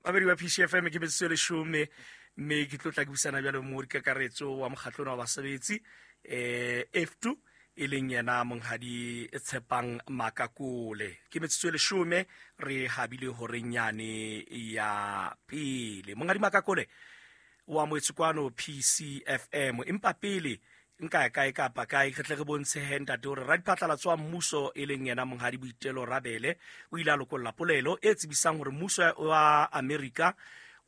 Babedi wa PCFM ke metsotso e leshome, mme ke tlo tla ke buisana jalo mo dikakaretso wa mokgatlong wa basebetsi F2, e leng yena monghadi Tshepang Makakole. Ke metsotso e leshome re habile horeng yane ya pele. Monghadi Makakole wa moetse kwano PCFM, empa pele nka ya kae kapa kae re tle re bontshe he ntate hore radiphatlalatso wa mmuso e leng yena monghadi Boitelo Rabele o ile a lokolla polelo e tsebisang hore mmuso wa Amerika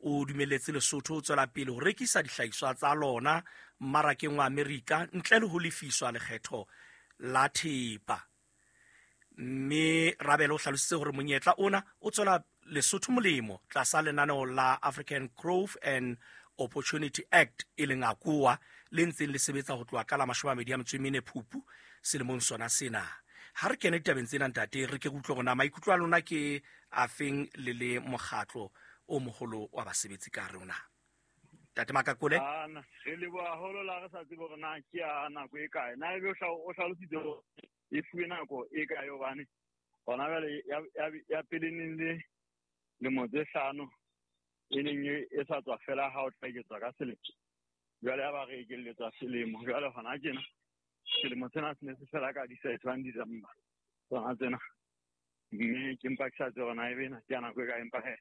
o dumelletse Lesotho ho tswela pele ho rekisa dihlahiswa tsa lona mmarakeng wa Amerika ntle le ho lefiswa lekgetho la thepa. Mme Rabele o hlalositse hore monyetla ona o tswela Lesotho molemo tlasa lenaneo la African Growth and Opportunity Act, e leng AGOA, le ntseng le sebetsa ho tloha ka la 24 Phupu selemong sona sena. Ha re kene ditabeng tsena ntate, re ke re utlwe hore na maikutlo a lona ke afeng le le mokgatlo o moholo wa basebetsi ka hare ho naha. Ntate Makakole. Ana, re leboha haholo la re sa tsebe hore na ke ya nako e kae. Na ebe o hlalositse hore e fuwe nako e kae, hobane hona jwale ya pele neng le lemo tse 5 e neng e sa tswa fela ha o tla eketswa ka selemo. Jwale ya ba re ekelletswa selemo. Jwale hona tjena selemo sena se ne se fela ka di-31 December tsona tsena. Mme ke mpa ke sa tsebe hore na ebe ena ke ya nako e kae, empa he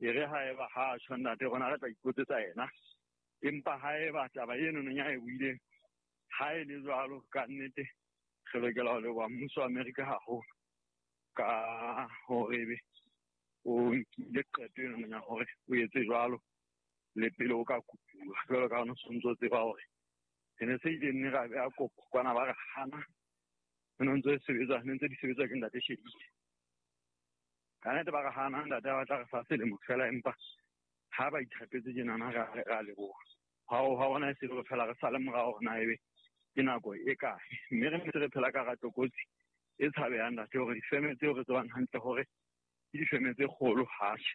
e re ha eba ha a tjho ntate rona re tla ipotsetsa yena. Empa ha eba taba eno nong ya e buileng ha e le jwalo, ka nnete re lokela ho leboha mmuso wa Amerika haholo ka hore ebe o nkile qeto eno nong ya hore o etse jwalo le pele o ka kopuwa. Jwalo ka ha o ntso tseba hore re ne se ile nne ra beha kopo kwana ba re hana. Re ne ntse sebetsa, ne ntse di sebetsa ke ntate Shedile. Ka nnete ba re hana, ntate ba tla re fa selemo fela, empa ha ba ithapetse tjenana ra leboha. Ha o ha ona e se re fela re sale morao hore na ebe ke nako e kae. Mme re ntse re phela ka hara tlokotsi e tshabehang ntate, hore difeme tseo re tsebang hantle hore ke difeme tse kgolo hatjhe,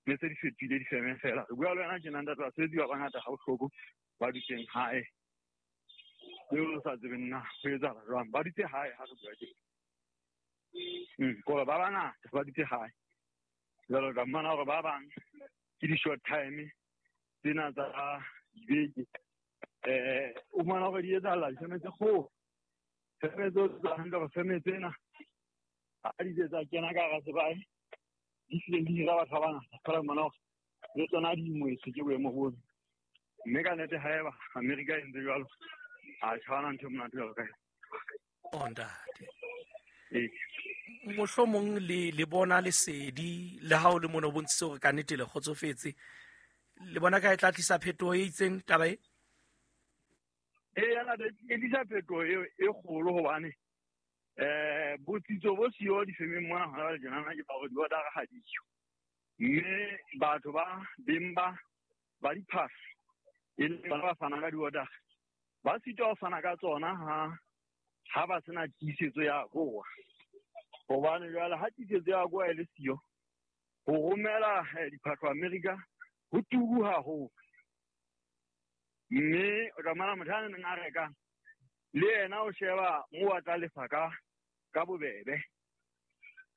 mme se di fetohile difeme fela. Re bua le wena tjena ntate, basebetsi ba bangata ha bohloko ba dutseng hae, eo re sa tsebeng na ho etsahala jwang. Ba dutse hae ha re bua tjena. Kore ba bangata ba dutse hae. Jwale o tla fumana hore ba bang ke di-short time tsena tsa dibeke. O fumana hore di etsahala difeme tse kgolo. Feme tseo tsa hantle hore feme tsena ha di tse tsa kena ka hara sebae, di hlile di hira batho ba bangata. Fela o fumana hore le tsona di ingwetswe ke boemo bono. Mme ka nnete ha eba Amerika e ntse jwalo, ha tjho ntho e monate jwalo ka yona. Oh, ntate. Mohlomong le bona lesedi le ha o le mona o bontshitse hore ka nnete le kgotsofetse. Le bona ka e tla tlisa phetoho e itseng taba e? Ee, ya ntate, e tlisa phetoho e kgolo hobane botsitso bo siyo difemeng mona hona jwale tjenana ke ba hore di-order-a ha di yo. Mme batho ba beng ba diphahlo e leng bona ba fanang ka di-order-a, ba sitwa ho fana ka tsona ha ba sena tiisetso ya AGOA. Hobane jwale ha tiisetso ya AGOA e le siyo, ho romela diphahlo Amerika ho turu haholo. Mme o tla fumana motho a neng a reka le yena o sheba moo a tla lefa ka bobebe.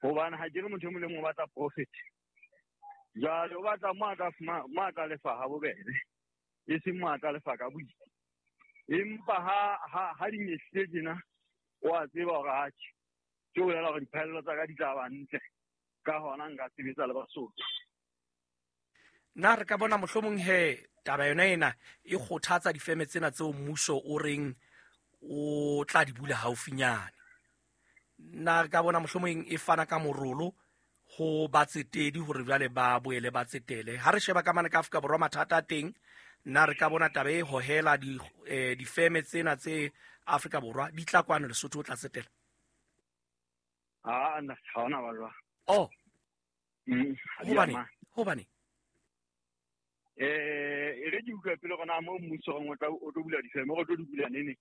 Hobane ha ke re motho e mong le mong o batla profit. Jwale o batla mo a tla fumana, mo a tla lefa ha bobebe, e seng mo a tla lefa ka boima. Empa ha di nyehlile tjena, o a tseba hore atjhe, ke ho bolela hore diphaello tsa ka di tla ba ntle, ka hona nka sebetsa le Basotho. Na re ka bona mohlomong he taba yona ena e kgothatsa difeme tsena tseo mmuso o reng o tla di bula haufinyane? Na re ka bona mohlomong e fana ka morolo ho batsetedi hore jwale ba boele ba tsetele? Ha re sheba ka mane ka Afrika Borwa mathata a teng, na re ka bona taba e hohela difeme tsena tse Afrika Borwa di tla kwano Lesotho o tla tsetela? Ha, nna, ha hona ba jwang. Oh. Ha di Hobane? amane. Hobane? E re ke utlwe pele hore na moo mmuso o tla, o tlo bula difeme, o tlo di bula nene?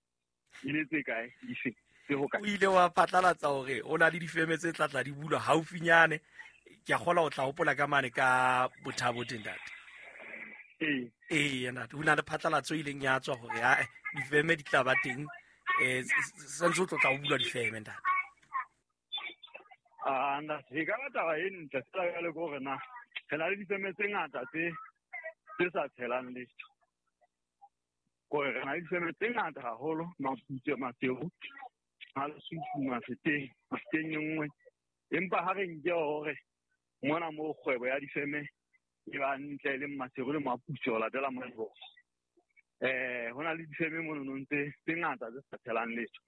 E le tse kae? Dife? Tse ho kae? O ile wa phatlalatsa hore o na le difeme tse tla tla di bulwa haufinyane. Ke a kgolwa o tla hopola ka mane ka Bothabo teng, ntate. Ee. Ee, ntate, ho na le phatlalatso e ileng ya tswa hore, ae, difeme di tla ba teng. Santse o tlo tla o bulwa difeme, ntate. A ntate, e ka ba taba e ntle fela jwale ke hore na re na le difeme tse ngata tse sa tshelang letho. Kore re na le difeme tse ngata haholo, Maputswe, Maseru, Malesuthu, Mafeteng, Mafeteng e nngwe. Empa ha re nke hore mona moo kgwebo ya difeme e ba ntle le Maseru le Maputswe ho latela Madiboho. Ho na le difeme mono tse ngata tse sa tshelang letho.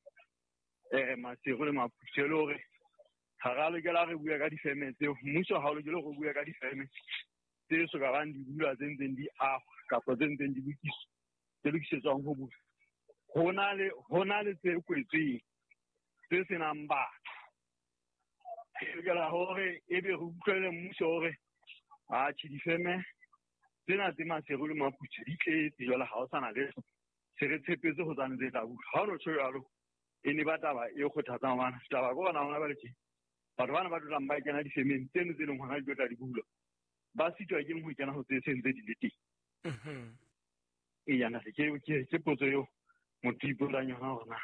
Maseru le Maputswe le hore ha ra lokela re bua ka difeme tseo, mmuso ha o lokele go bua ka difeme tse so ka bang di bulwa, tse ntseng di ahwa kapa tse ntseng di lokiswa, tse lokisetswang ho bulwa. Ho na le tse kwetsweng tse senang batho. Re lokela hore ebe re utlwele mmuso hore atjhe difeme tsena tse Maseru le Maputswe di tletse jwale, ha ho sana letho, se re tshepetse ho tsane tse tla bulwa. Ha o no tjho jwalo, e ne ba taba e kgothatsang hobane taba ke hona hona jwale tje. Batho bana ba tlo ba kena difemeng tseno tse leng hona di tlo tla di bulwa, ba sitwa ke ho kena ho tse seng tse di le teng. Eya, ntate, ke potso eo motho ipotsang yona hore na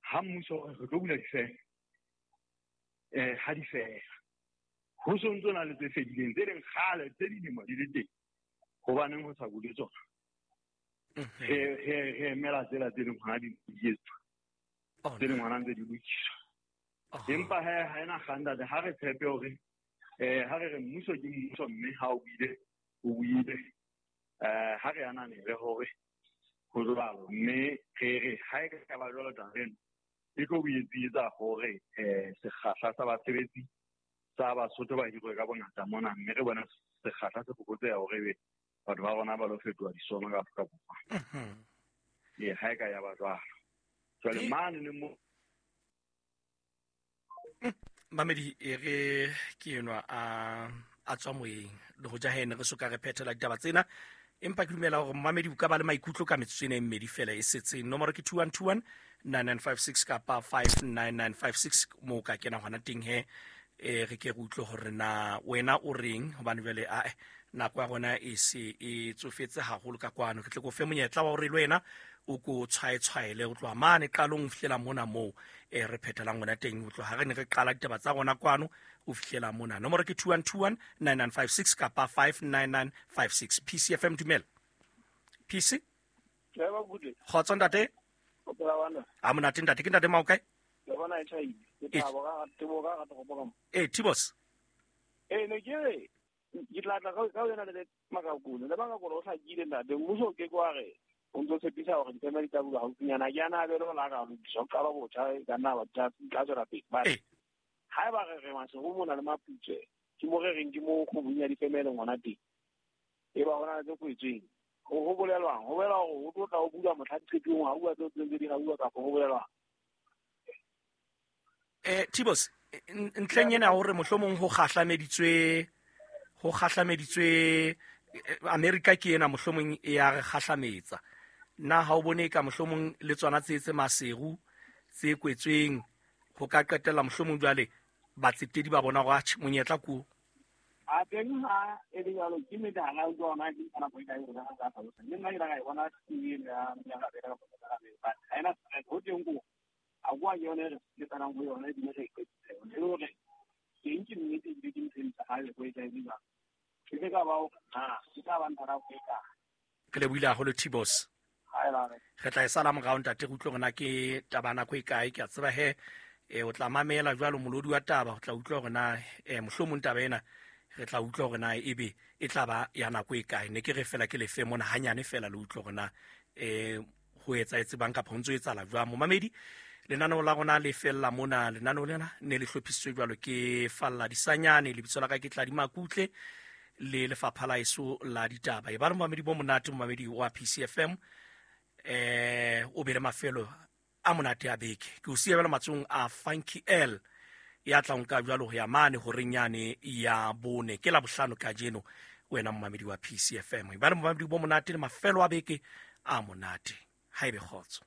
ha mmuso o re re tlo bula difeme, ha di fela ho so ntso na le tse fedileng tse leng kgale tse dilemo di le teng, hobaneng ho sa bule tsona? Re emela tsela tse leng hona di etswa, tse leng hona ntse di lokiswa. Empa he ha ena kgang ntate, ha re tshepe hore ha re re mmuso ke mmuso, mme ha o buile o buile, ha re ananele hore ho jwalo, mme re re ha e ka ba jwalo taba eno e tlo boetsa hore sekgahla sa basebetsi sa Basotho ba hirwe ka bongata mona, mme re bona sekgahla se fokotseha hore ebe batho ba rona ba lo fetoha disono ka Afrika Borwa. Ee, ha e ka ya ba jwalo. Jwale mane le mo Mamedi, e re ke enwa a tswa moyeng le ho ja hene re soka re phethela ditaba tsena, empa ke dumela hore mamedi o ka ba le maikutlo ka metsotso ena e mmedi fela e setseng. Nomoro ke 2121 9956 kapa 59956 moo ka kena hona teng he, re ke re utlwe hore na wena o reng, hobane jwale ae nako ya rona e se e tsofetse haholo ka kwano. Ke tle ko fe monyetla wa hore le wena o ko tshwaetshwaele ho tloha mane qalong ho fihlela mona moo re phethelang hona teng, ho tloha re ne re qala ditaba tsa rona kwano ho fihlela mona. Nomoro ke 2121 9956 kapa 59956. PCFM, dumela. PC? Kgotso ntate. A monate ntate, ke ntate Maokae? Tibos. Ne ke re ke tla tla ka wena le Makakole. Le Makakole o hlakile ntate, mmuso ke kwa re o ntso tshepisa hore difeme di tla bulwa haufinyana, ke ana a bele la ka lokiswa, ho qala botjha e ka nna ba tla tswela pele. But haeba re re Maseru mona le Maputswe, ke mo re reng ke mo kgwebong ya difeme e leng hona teng, e ba hona le tse kwetsweng. Ho bolelwang? Ho bolela hore ho tlo tla ho bulwa mohla diqetong, ha bua tseo tse ntse di rauwa, kapa ho bolelwang? Tibos, ntlheng ena hore mohlomong ho kgahlameditswe America ke ena mohlomong e ya re kgahlametsa. Na ha o bone ka mohlomong le tsona tse tse Maseru tse kwetsweng ho ka qetella mohlomong jwale batsetedi ba bona hore atjhe monyetla ko? A teng ha e le jwalo, ke nnete ha ra utlwa hona ke nka nako e kae hore re ka hlalosa. Mme nna ke la ka e bona TV eno ya ya ka ka but ha ena stress ho teng ko a kwa ke yone re tsanang ho yona ebile re iqedisa yone. E le hore teng ke nnete ebile ke ntho e ntle ha e ko e tla e jwang. Ke ka ba o na ke tla ba ntha nako e kae. Ke lebohile haholo Tibos. Re tla e sala morao ntate, re utlwe hore na ke taba nako e kae. Ke a tseba he o tla mamela jwalo molodi wa taba, o tla utlwa hore na mohlomong taba ena re tla utlwa hore na ebe e tla ba ya nako e kae. Ne ke re fela ke lefe mona hanyane fela le utlwe hore na ho etsahetse bang kapa ho ntso etsahala jwang. Momamedi, lenaneo la rona le fella mona. Lenaneo lena ne le hlophisitswe jwalo ke Falla Disanyane, lebitso la ka ke Tladi Makutle, le lefapha la eso la ditaba. E ba le momamedi bo monate, momamedi wa PCFM, o be le mafelo a monate a beke. Ke o siya jwalo matsohong a Funky L ya tla nka jwalo ho ya mane horeng yane ya bone. Ke Labohlano kajeno, wena momamedi wa PCFM. E ba le momamedi bo monate le mafelo a beke a monate. Ha ebe kgotso.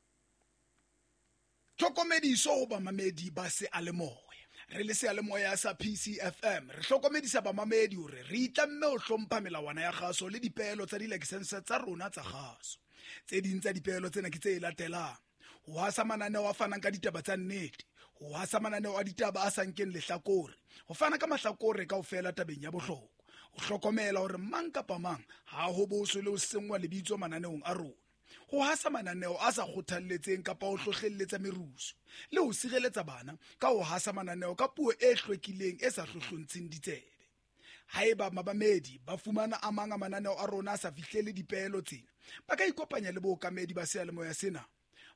Tlhokomediso ho bamamedi ba seyalemoya. Re le seyalemoya sa PCFM, re hlokomedisa bamamedi hore re itlamme ho hlompha melawana ya kgaso le dipeelo tsa dilakesense tsa rona tsa kgaso. Tse ding tsa dipeelo tsena ke tse latelang: ho hasa mananeo a fanang ka ditaba tsa nnete, Ho hasa mananeo a ditaba a sa nkeng lehlakore, ho fana ka mahlakore kaofela tabeng ya bohlokwa, ho hlokomela hore mang kapa mang ha ho boswe le ho senngwa lebitso mananeong a rona, ho hasa mananeo a sa kgothalletseng kapa ho hlohlelletsa merusu, le ho sireletsa bana ka ho hasa mananeo ka puo e hlwekileng e sa hlohlontsheng ditsebe. Haeba mamamedi ba fumana a mang a mananeo a rona a sa fihlele dipeelo tsena, ba ka ikopanya le bookamedi ba seyalemoya sena.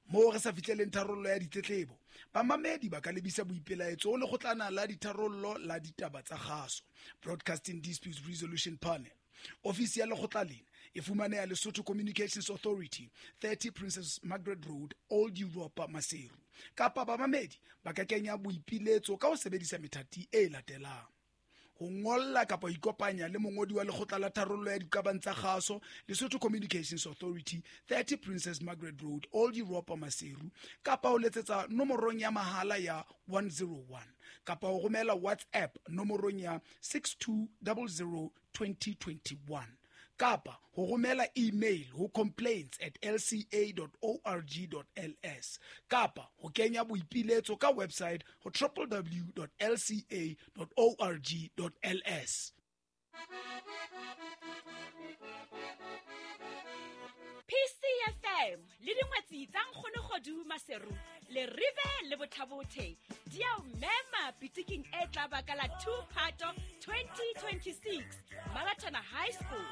Moo re sa fihleleng tharollo ya ditletlebo, bamamedi ba ka lebisa boipelaetso ho lekgotlana la ditharollo la ditaba tsa kgaso, Broadcasting Disputes Resolution Panel. Ofisi ya lekgotla lena e fumaneha Lesotho Communications Authority, 30 Princess Margaret Road, Old Europa, Maseru. Kapa bamamedi ba ka kenya boipiletso ka ho sebedisa methati e latelang: ho ngolla kapa ho ikopanya le mongodi wa lekgotla la tharollo ya diqabang tsa kgaso, Lesotho Communications Authority, 30 Princess Margaret Road, Old Europa, Maseru, kapa ho letsetsa nomorong ya mahala ya 101, kapa ho romela WhatsApp nomorong ya 6200 2021, kapa ho romela email ho complaints@lca.org.ls, kapa ho kenya boipiletso ka website ho www.lca.org.ls. PCFM le dingwetsi tsa Nkgonogodu Maseru le Rive le Bothabothe di a o mema pitiking e tla baka la 2 Phato 2026 Maratona High School.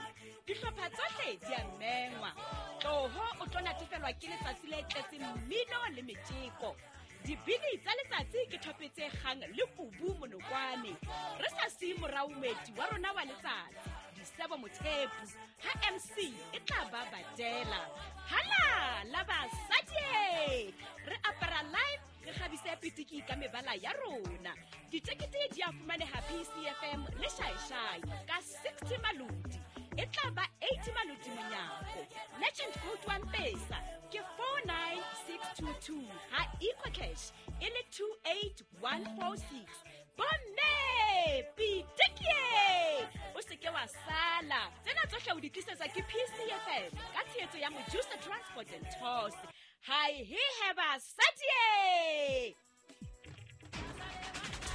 Dihlopha tsohle di a mengwa. Tloho o tlo natefelwa ke letsatsi le tletseng mmino le metjeko. Dibini tsa letsatsi ke thope tse kgang le kubu monokwane. Re sa siye morao moeti wa rona wa letsatsi, Disebo Mothepu, ha MC e tla ba badela. Hala la basadi! Re apara live, re kgabise pitiki ka mebala ya rona. Ditekete di a fumaneha PCFM le Shaishai ka 60 maloti. E tla ba 80 maloti monyako. Legend code wa Mpesa ke 49622, ha EcoCash e le 28146. Bomme pitikie, o seke wa sala. Tsena tsohle o di tlisetsa ke PCFM ka tshehetso ya Mojusa Transport and Tours. Hi he basadi.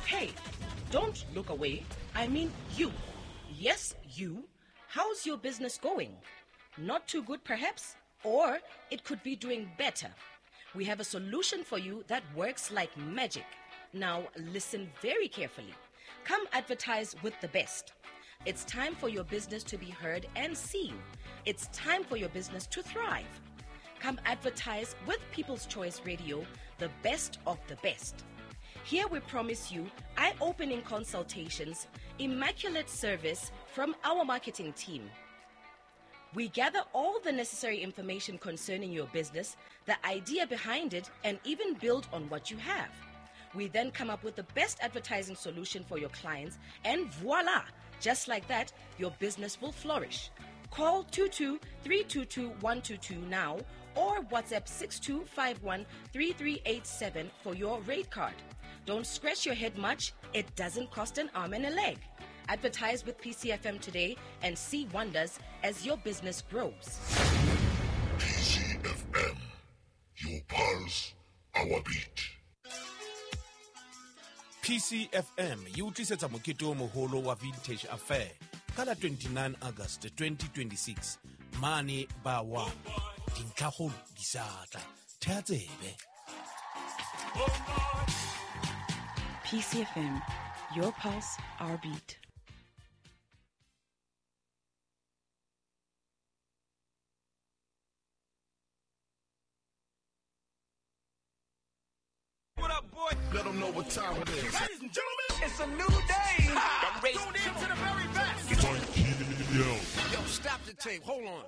Hey, don't look away. I mean you. Yes, you. How's your business going? Not too good, perhaps? Or it could be doing better. We have a solution for you that works like magic. Now, listen very carefully. Come advertise with the best. It's time for your business to be heard and seen. It's time for your business to thrive. Come advertise with People's Choice Radio, the best of the best. Here we promise you eye-opening consultations, immaculate service from our marketing team. We gather all the necessary information concerning your business, the idea behind it, and even build on what you have. We then come up with the best advertising solution for your clients, and voila! Just like that, your business will flourish. Call 22-322-122 now or WhatsApp 6251-3387 for your rate card. Don't scratch your head much. It doesn't cost an arm and a leg. Advertise with PCFM today and see wonders as your business grows. PCFM, your pulse, our beat. PCFM e o tlisetsa mokete o moholo wa Vintage Affair ka la 29 August 2026 mane ba wa dintlhakgolo di sa tla. Thea tsebe. PCFM, your pulse, our beat. What up, boy? Let them know what time it is. Ladies and gentlemen, it's a new day. I'm tuned in to the very best. Yo, stop the tape. Hold on.